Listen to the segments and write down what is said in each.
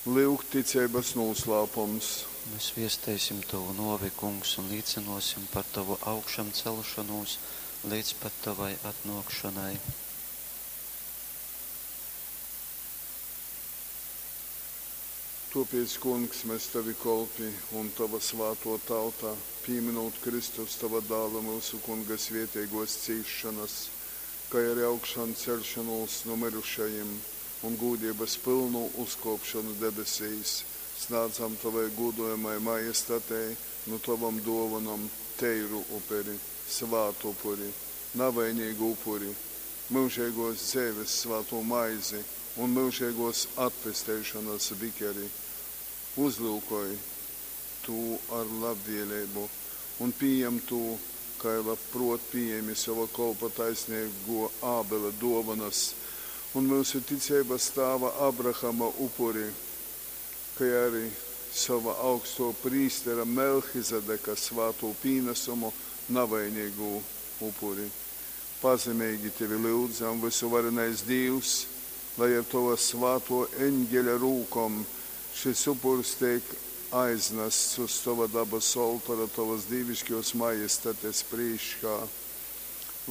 Lyugtticeibas nūslāpums. Mes viesteisim tovu nōvi, Kungs, un līcynōsim par tovu augšamceļšonūs leidz pat tovai atnōkšonai. Tōpēc, Kungs, mes tovi kolpi un tova svātō tauta, pīmynūt Kristus, tova Dāla, myusu Kunga svēteigōs cīsšonas, kai ari augšanceļšonūs nu myrušajim un gūdeibas pylnū uzkōpšonu debesīs, snādzam tovai gūdojamai Majestatei nu tovom dōvonom teiru uperi, svātupuri, navaineigu upuri, myužeigōs dzeives svātū maizi un myužeigōs atpesteišonas bikeri. Uzlyukoj tū ar labvēleibu un pījem tū, kai labprōt pījēmi sova kolpa taisneigō Ābela dōvonas un myusu ticeibas tāva Abrahama upuri, kai ari sova augstō prīstera Melchizedeka svātū pīnasumu, navaineigū upuri. Pazemeigi tevi lyudzam, vysuvarenais Dīvs, lai ar tova svātō eņgeļa rūkom šys upurs teik aiznasts uz tova dabasu oltora tovas dīviškōs Majestates prīškā,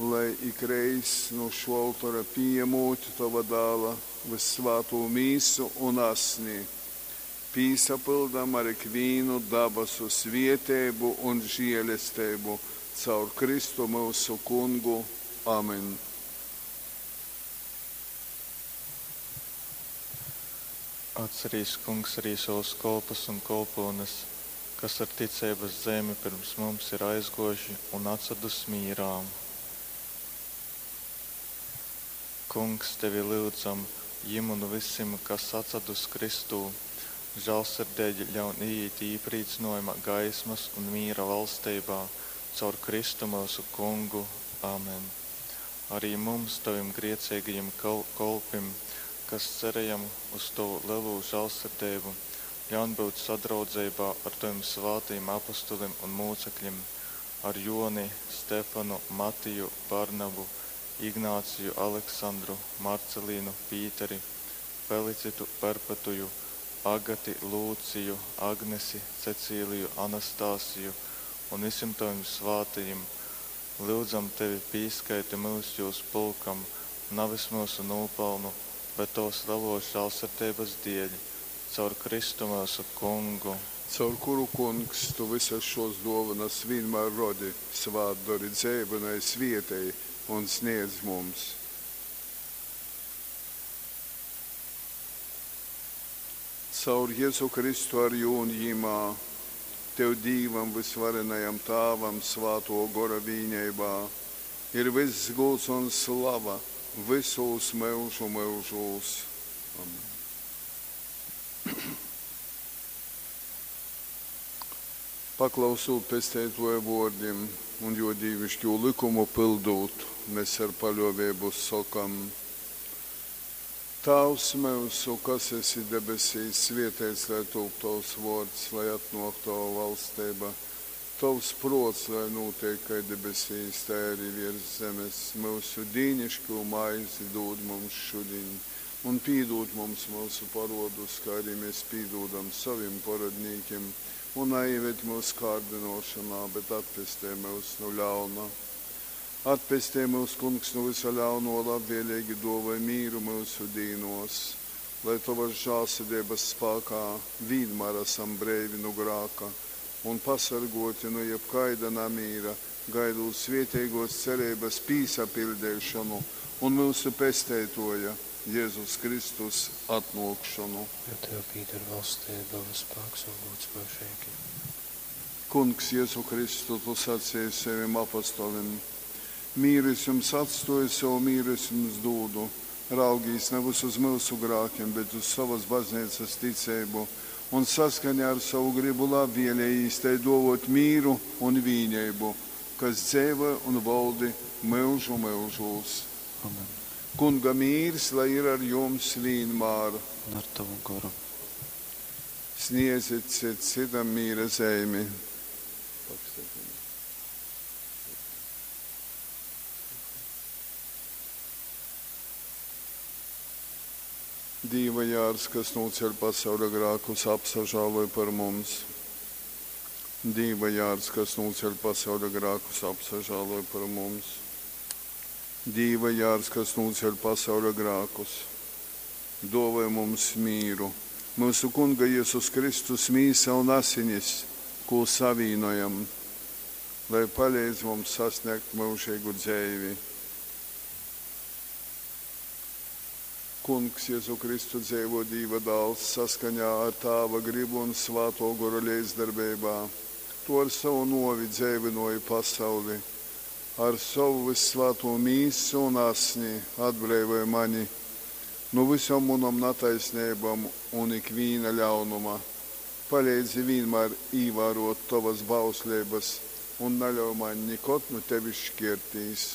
lai ikreiz, nu šō oltora pījamūt tova Dāla vyssvātū mīsu un asni, pīsapyldam ar ikvīnu dabasu svēteibu un želesteibu caur Kristu myusu Kungu. Amen. Atcerīs, Kungs, arī savus kolpus un kolpyunes, kas ar ticeibas zeimi pirms mums ir aizgōjuši un atsadus mīrā. Kungs, tevi lyudzam, jim un vysim, kas atsadus Kristū, žālsirdeigi ļaun iīt īprīcynojuma gaismas un mīra valsteibā caur Kristu myusu Kungu. Amen. Arī mums, tavim grieceigajim kolpim, kas cerējam uz tovu lelū žālsirdeibu, ļaun būt sadraudzeibā ar tovim svātajim apostolim un mūcekļim, ar Joni, Stefanu, Matiju, Barnabu, Ignāciju, Aleksandru, Marcelīnu, Pīteri, Felicitu, Perpetuju, Agati, Lūciju, Agnesi, Cecīliju, Anastasiju un visiem tavim svātajim. Lyudzam tevi, pīskaiti myus jūs pulkam, navis myusu nūpelnu, bet tovas lelos žālsirdeibas dēļ, caur Kristu myusu Kungu. Caur kuru, Kungs, tu vysas šōs dōvonas vīnmār rodi, svātdori, dzeivynoj, svētej un sniedz mums. Caur Jezu Kristu ar jū un jymā, tev Dīvam vysvarenajam Tāvam Svātō Gora vīneibā ir vyss gūds un slava vysūs myužu myužūs. Amen. Paklausūt Pesteitōja vōrdim un jō dīviškū lykumu pyldūt, mes ar paļōveibu sokam, Tāvs myusu, kas esi debesīs, svēteits lai tūp tovs vōrds, lai atnōk tova valsteiba. Tovs prōts lai nūteik kai debesīs, tai arī viers zemes. Myusu dīniškū maizi dūd mums šudiņ, un pīdūd mums myusu parodus, kā arī mēs pīdūdam sovim parodnīkim, un naieved mūs kārdinošanā, bet atpestej myus nu ļauna. Atpestej mūs, Kungs, nu vysa ļauno, labvēlīgi dōvoj mīru myusu dīnos, lai tovas žālsirdeibas spākā vīnmār asam breivi nu grāka un pasargōti nu jebkaida namīra, gaidūt svēteigōs cereibas pīsapiļdeišonu un myusu Pesteitōja Jezus Kristus atnōkšonu. Jo tev pīder valsteiba un spāks un gūds myužeigi. Kungs Jezu Kristu, tu sacēji sevim apostolim: Mīru es jums atstōju, sovu mīru es jums dūdu. Raugīs navys uz myusu grākim, bet uz sovas bazneicas ticeibu, un saskaņā ar sovu grybu labvēlejīs tai dōvōt mīru un vīneibu, kas dzeivoj un voldi myužu myužūs. Amen. Kunga mīrs lai ir ar jums vīnmār. Un ar tovu goru. Sniedzit cits cytam mīra zeimi. Dīva jārs, kas nūceļ pasauļa grākus, apsažāloj par mums. Dīva jārs, kas nūceļ pasauļa grākus, apsažāloj par mums. Dīva jārs, kas nūceļ pasauļa grākus, dōvoj mums mīru. Myusu Kunga Jezus Kristus mīsa un asinis, kū savīnojam, lai paleidz mums sasnēgt myužeigu dzeivi. Kungs Jezu Kristu dzeivō Dīva Dāls, saskaņā ar Tāva grybu un Svātō Gora leidzdarbeibā, Tu ar sovu nōvi dzeivynōji pasauli. Ar sovu vyssvātū mīsu un asni atbreivoj mani nu vysom munom nataisneibom un ikvīna ļaunuma. Paleidzi vīnmār īvārōt tovas bausleibas un naļauj maņ nikod nu tevis škērtīs.